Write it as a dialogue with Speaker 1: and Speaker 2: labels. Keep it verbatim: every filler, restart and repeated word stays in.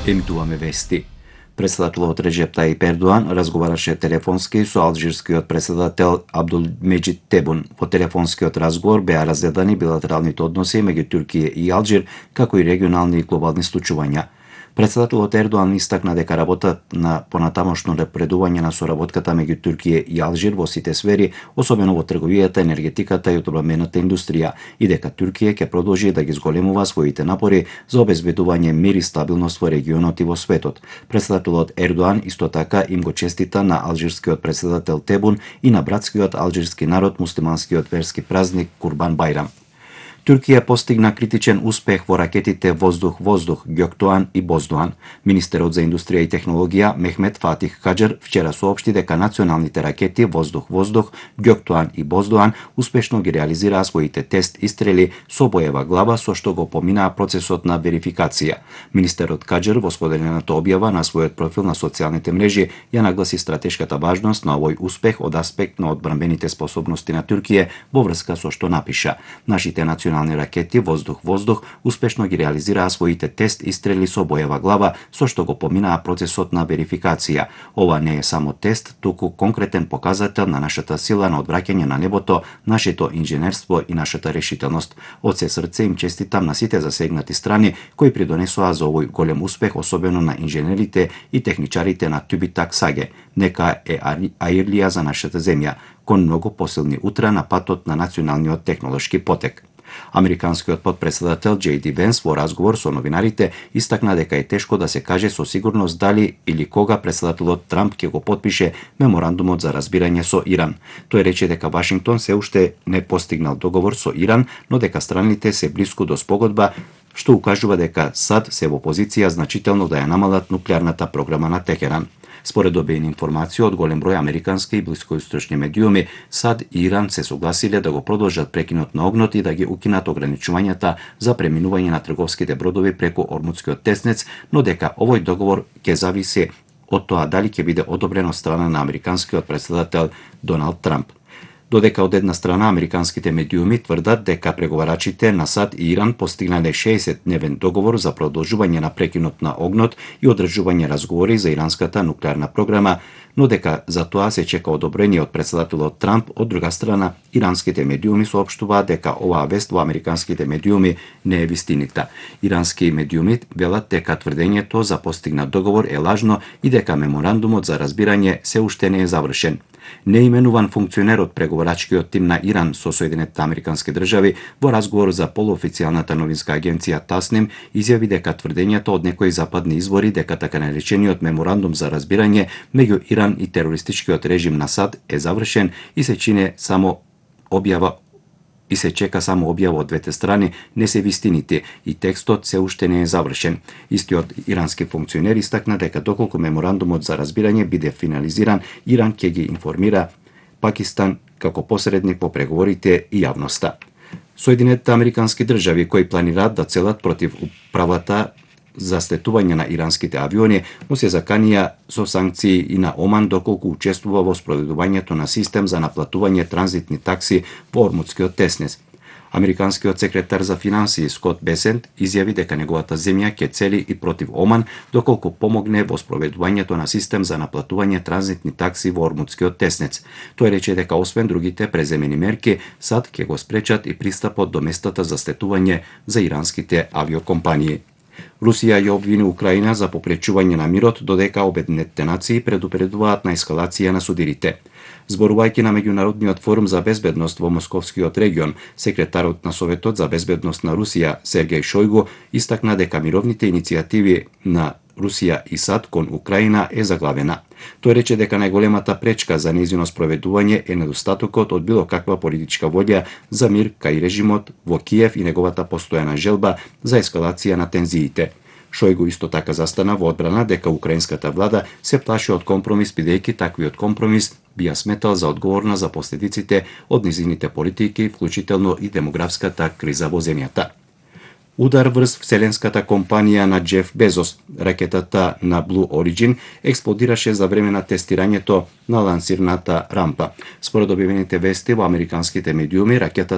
Speaker 1: Емитуваме вести. Председателот Реджеп Таип Ердоан разговараше телефонски со алжирскиот председател Абдулмеџид Тебун. Во телефонскиот разговор беа разгледани билатералните односи меѓу Турција и Алжир, како и регионални и глобални случувања. Председателот Ердоан истакна дека работата на понатамошно напредување на соработката меѓу Турција и Алжир во сите сфери, особено во трговијата, енергетиката и одбранбената индустрија, и дека Турција ќе продолжи да ги зголемува своите напори за обезбедување мир и стабилност во регионот и во светот. Председателот Ердоан исто така им го честита на алжирскиот председател Тебун и на братскиот алжирски народ муслиманскиот верски празник Курбан Бајрам. Турција постигна критичен успех во ракетите воздух-воздух Гөктуан и Боздуан. Министерот за индустрија и технологија Мехмет Фатих Хаџер вчера соопшти дека националните ракети воздух-воздух Гөктуан и Боздуан успешно ги реализираа своите тест истрели со боева глава, со што го поминаа процесот на верификација. Министерот Хаџер во споделената објава на својот профил на социјалните мрежи ја нагласи стратешката важност на овој успех од аспект на одбранбените способности на Турција во врска со што напиша: Нашите национални ракети воздух-воздух успешно ги реализираа своите тест истрели со боева глава, со што го поминаа процесот на верификација. Ова не е само тест, туку конкретен показател на нашата сила на одвраќање на небото, нашето инженерство и нашата решителност. Од се срце им честитам на сите засегнати страни кои придонесоа за овој голем успех, особено на инженерите и техничарите на Тюбитак Саге. Нека е аирлија за нашата земја, кон многу посилни утра на патот на националниот технолошки потек. Американскиот подпредседател Џеј Ди Венс во разговор со новинарите истакна дека е тешко да се каже со сигурност дали или кога председателот Трамп ќе го потпише меморандумот за разбирање со Иран. Тој рече дека Вашингтон се уште не постигнал договор со Иран, но дека страните се блиску до спогодба, што укажува дека САД се во позиција значително да ја намалат нуклеарната програма на Техеран. Според обејни информации од голем број американски и блискоисточни медиуми, САД и Иран се согласиле да го продолжат прекинот на огнот и да ги укинат ограничувањата за преминување на трговските бродови преку Ормутскиот теснец, но дека овој договор ќе зависи од тоа дали ќе биде одобрен од страна на американскиот председател Доналд Трамп. Додека од една страна американските медиуми тврдат дека преговарачите на САД и Иран постигнале шеесет-дневен договор за продолжување на прекинот на огнот и одржување разговори за иранската нуклеарна програма, но дека за тоа се чека одобрение од председателот Трамп. Од друга страна, иранските медиуми соопштуваат дека оваа вест во американските медиуми не е вистинита. Ирански медиуми велат дека тврдењето за постигнат договор е лажно и дека меморандумот за разбирање се уште не е завршен. Неименуван функционер од преговарачкиот тим на Иран со Соединетите американски држави во разговор за полуофицијалната новинска агенција Тасним изјави дека тврдењето од некои западни извори дека така наречениот меморандум за разбирање меѓу Иран и терористичкиот режим на САД е завршен и се чине само објава и се чека само објава од двете страни, не се вистините и текстот се уште не е завршен. Истиот ирански функционер истакна дека доколку меморандумот за разбирање биде финализиран, Иран ќе ги информира Пакистан како посредник во преговорите и јавноста. Соединетите американски држави кои планираат да целат против управата за слетување на иранските авиони му се заканија со санкции и на Оман доколку учествува во спроведувањето на систем за наплатување транзитни такси во Ормутскиот теснец. Американскиот секретар за финансии Скот Бесент изјави дека неговата земја ќе цели и против Оман доколку помогне во спроведувањето на систем за наплатување транзитни такси во Ормутскиот теснец. Тој рече дека освен другите преземени мерки, САД ќе го спречат и пристапот до местата за слетување за иранските авиокомпании. Русија ја обвини Украина за попречување на мирот, додека Обединетите нации предупредуваат на ескалација на судирите. Зборувајќи на меѓународниот форум за безбедност во Московскиот регион, секретарот на Советот за безбедност на Русија Сергеј Шојгу истакна дека мировните иницијативи на Русија и САД кон Украина е заглавена. Тој рече дека најголемата пречка за нејзино спроведување е недостатокот од било каква политичка волја за мир кај режимот во Киев и неговата постојана желба за ескалација на тензиите. Шојгу исто така застана во одбрана дека украинската влада се плаши од компромис, бидејќи таквиот компромис би ја сметал за одговорна за последиците од низините политики, вклучително и демографската криза во земјата. Удар врз вселенската компанија на Џеф Безос, ракетата на Blue Origin, експлодираше за време на тестирањето на лансирната рампа. Според објавените вести во американските медиуми, ракетата